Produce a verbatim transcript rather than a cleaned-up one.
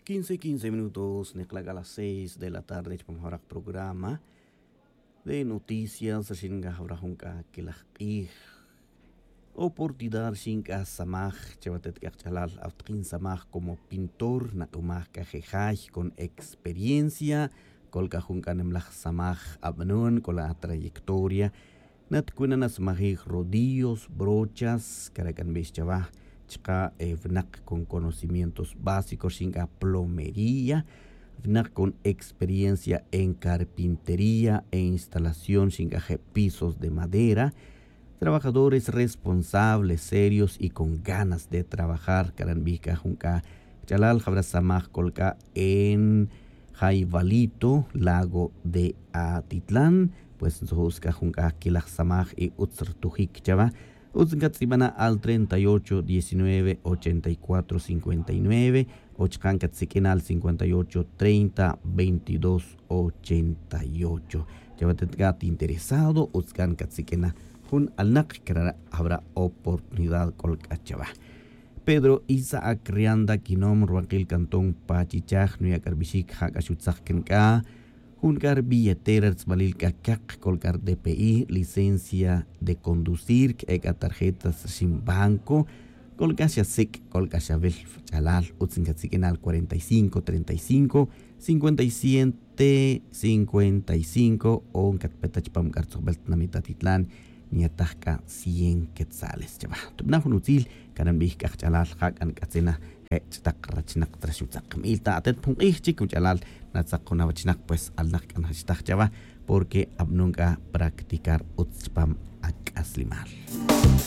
Quince quince minutos nekla' k'a las seis de la tarde chupam jawraq programa de noticias rixin nk'aj jawraq jun k'a kelaj q'ij. Oportunidad rixin k'a samaj chawa atet k'a qach'alal awtaqin samaj como pintor naq'umaj k'a je' jay con experiencia. K'ol k'a jun k'a nemlaj samaj ab'anon k'ol a trayectoria. Natkunan asmajij rodillos, brochas kara' k'a nb'ix chawa. Chaqa' winaq con conocimientos básicos rixin k'a plomería. Winaq con experiencia en carpintería e instalación rixin k'a je' pisos de madera. Trabajadores responsables, serios y con ganas de trabajar kara' nb'ij k'a jun k'a ch'alal jawra samaj k'ol k'a en jay valito lago de atitlán. Pues ntzuj utz k'a jun k'a kelaj samaj y utz rtujik chawa. Utz nkatz'ibana' al treinta y ocho diecinueve ochenta y cuatro cincuenta y nueve o chaqa' nkatsik'ina' al cincuenta y ocho treinta veintidós ochenta y ocho. Chawa atet k'a at interesado utz k'a nkatsik'ina' jun alnaq kara' jawra oportunidad k'ol k'a chawa. Pedro Isaac Rianda Quinom, ruwaqil cantón Pachichaj, nuya' k'a rbixik ja' k'a xutzaq kan k'a jun k'a rbilletera rtz'balil k'a kaq k'ol k'a rdpi, licencia de conducir k'e k'a tarjetas rixin banco. K'ol k'a xa sik' k'ol k'a xa wil ch'alal utz nkatsik'ina' al cuarenta y cinco treinta y cinco cincuenta y siete cincuenta y cinco o nkatpeta chupam k'a rtzojbel tinamit atitlán. Nyataj k'a cien quetzales chawa tubana' jun utzil kara' nb'ij k'a qach'alal ja' k'a nk'atzina je' ch'ataq rachnaq tra xutzaq nb'il ta atet pa jun q'ij chik jun ch'alal natzaq jun awachnaq pues alnaq k'a njachitaj chawa. Porque ab'anon k'a practicar utz chupam ak'aslimal.